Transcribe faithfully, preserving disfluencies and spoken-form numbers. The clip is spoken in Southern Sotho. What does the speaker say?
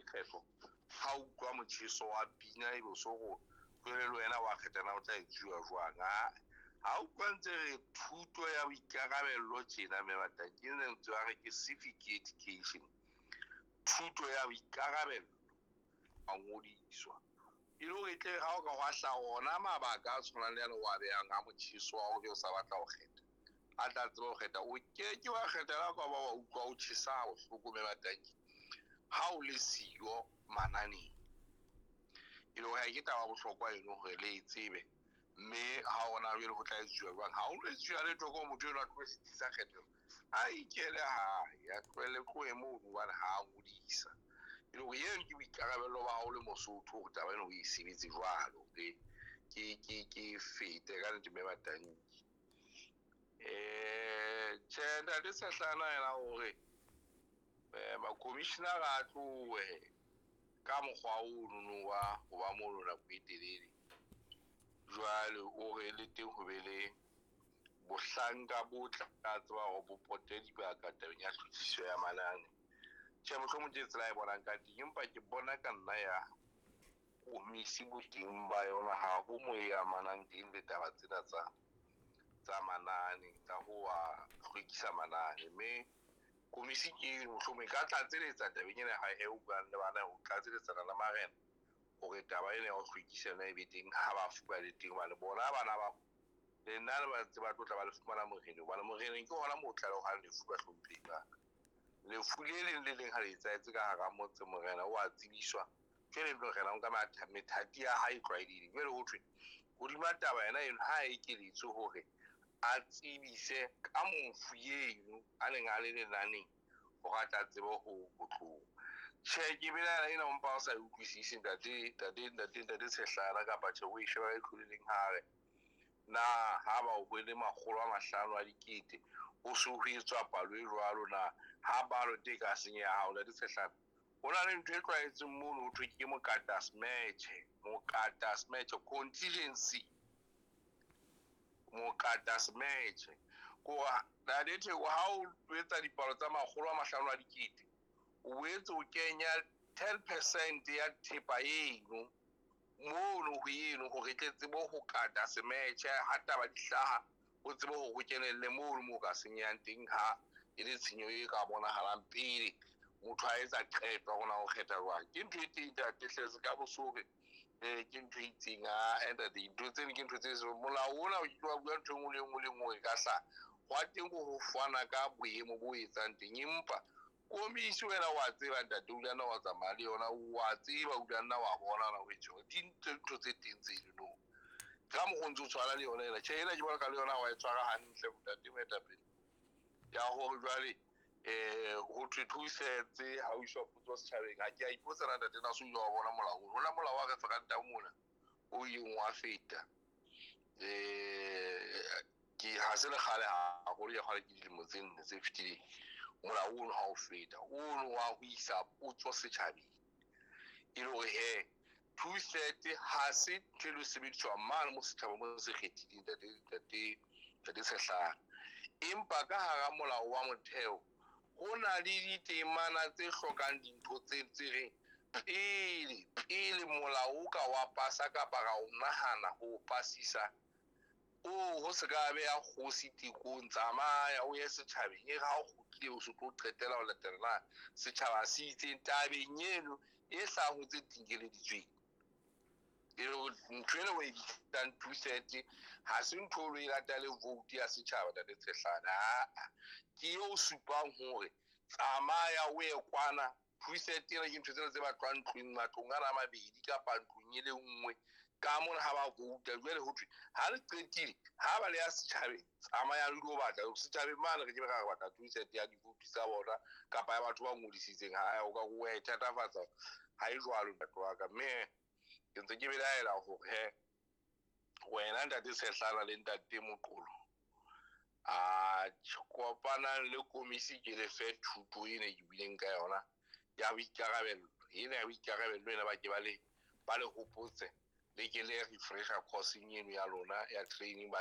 kgetho ha o utlwa motjheso wa pina ebe o so go jwale le wena wa kgetha na o tla etsuwa jwang. Ha o utlwa ntse re thuto ya boikarabello tjena mme batang ke lentswe wa re ke civic education, thuto ya boikarabello a ngodiswa e le hore tle ha o ka hwa hlaha ona mabaka a tshwanang le yane wa behang a motjheso wa hore o sa batla ho kgetha, a tla tseba ho kgetha. O ke ke wa kgetha la ka ba wa utlwa o tjhesa bohloko mme batanki ha o le siyo mananeng. E le hore ke taba ya bohlokwa eno hore le e tsebe, mme ha ona jwale ho tla etsuwa jwang. Ha o lo etsuwa letho ko motho enwa a tlohe setsi sa kgethelo, a ikele hae, a tlohelle tlohe mono hobane ha a ngodisa. E le hore eno ke boikarabello ba hao le Mosotho hore taba ena o e sebetse jwalo, ke ke ke fete ka nnete mme batanki. Eh tjhe ntate Sehlana yena hore ma-commissioner-a a tlohe ka mokgwa ono wa ho ba mono nako e telele. Jwale o re le teng ho be le bohlanka bo tla tseba hore bo pote dibaka tabeng ya tlhophiso ya manane. Tjhe, mohlomong ke tsela e bonang ka teng, empa ke bona ka nna ya komisi boteng ba yona ha ho mo e amanang teng le taba tsena tsa tsa manane, tsa ho wa hlwekisa manane. Mme komisi ke mohlomong e ka tlatseletsa tabeng ena ha e o buang le bana, ho tlatseletsana le marena hore taba ena ya ho hlwekisa yona e be teng ha bafu ba le teng. Hobane bona bana ba le nna le ba ntse ba tlo tla ba le fumana moreneng, hobane moreneng ke hona moo tlalehwang lefu bahlomphehi ba ka. Lefu le leng le leng ha le etsahetse ka hara motse, morena o a tsebiswa. Jwale morena o nka methati ya hae e tlwaelehileng. Jwale ho thwe hodima taba yena eno ha ekeletswe hore a tsebise ka mofu eno a neng a le lenaneng hore a tla tsebe ho tloha. Tjhe, ke belaela ena o mpa o sa e utlwisise ntate ntate ntate ntate Tshehlana kapa tjhe o e sheba ka leihlo le leng hare. Na ha ba o bone makgolo a mahlano a dikete ho so ho etswa palo e jwalo na ha balo e ka senyeha hao ntate Tshehlana? Ho na le ntho e tlwaetseng mono ho thwe ke mokata smetjhe, mokata smetjhe contingency, mokata smetjhe. Ko ntate Theko ha o etsa dipalo tsa makgolo a mahlano a dikete, o boetse o kenya ten percent ya thepa eno mono ho eno hore tle tsebe ho kata semetjhe ha taba di hlaha, o tsebe hore o kenelle mono moo ka senyehang teng ha e le tshenyo e ka bonahalang pele motho a etsa qeto ya hore na o kgetha jwang. Ke ntho e teng ntate hle se ka bo so hore ke ntho e itseng a ntate dintho tseno ke ntho tse molao ona o ke wa bua ntho e nngwe le nngwe le nngwe e ka hlaha. Hwa teng ho fana ka boemo bo etsang teng, empa komisi wena wa tseba ntate o nna wa tsamaya le yona, wa tseba o nna wa bona na o etsa di ntho tse teng tseno. Ka mokgwa o ntso tshwana le yona ena, tjhe ena ke bona ka le yona wa e tshwara hantle ntate moetapele. Ya hore jwale eh ho thwe two thirds ha o iswa potso setjhabeng. Ha ke a ipotsa na ntate na so ile wa bona molao ona molao wa referendum ona o ileng wa feta. Eh ke ha se le kgale haholo ya kgale ke dilemo tse nne tse fetileng. Molao ono ha o feta ono wa ho isa potso setjhabeng e le hore he two thirds ha se ntho e lo sebediswa mane mo setjhaba mo se kgethileng ntate ntate ntate Tshehlana. Empa ka hara molao wa motheo ho na le ditemana tse hlokang dintho tse tse reng pele pele molao o ka wa pasa kapa ra o nahana ho pasisa o ho se ka beha kgosi tekong, tsamaya o ye setjhabeng e re ha o kgutlile o se tlo qetela ho latela na setjhaba se itseng tabeng eno e hlahang ho tse tinkeleditsweng. E le hore ntho ena o e bitsang two thirds ha se ntho o lo e latele vote ya setjhaba ntate Tshehlana. Aa ke eo supang hore tsamaya o ye kwana. Two thirds ena ke ntho tsena tse batlwang ntlong matlong ana a mabedi kapa ntlong e le nngwe ka mona ha ba vouta. Jwale ho thwe ha le qetile ha ba le ya setjhabeng tsamayang le lo batla setjhabeng mane re ke be ra re batla two thirds ya divoutu tsa bona kapa ya batho ba ngodisitseng. Ha o ka wa e thatafatsa ha e jwalo ntate wa ka. Mme ke ntse ke belaela hore he wena ntate Tshehlana le ntate Moqolo a kopanang le komisi ke le fe thuto ena ke buileng ka yona ya boikarabello ena ya boikarabello ena ba ke ba le ba le hopotse le ke le refresher course eno ya lona ya training ba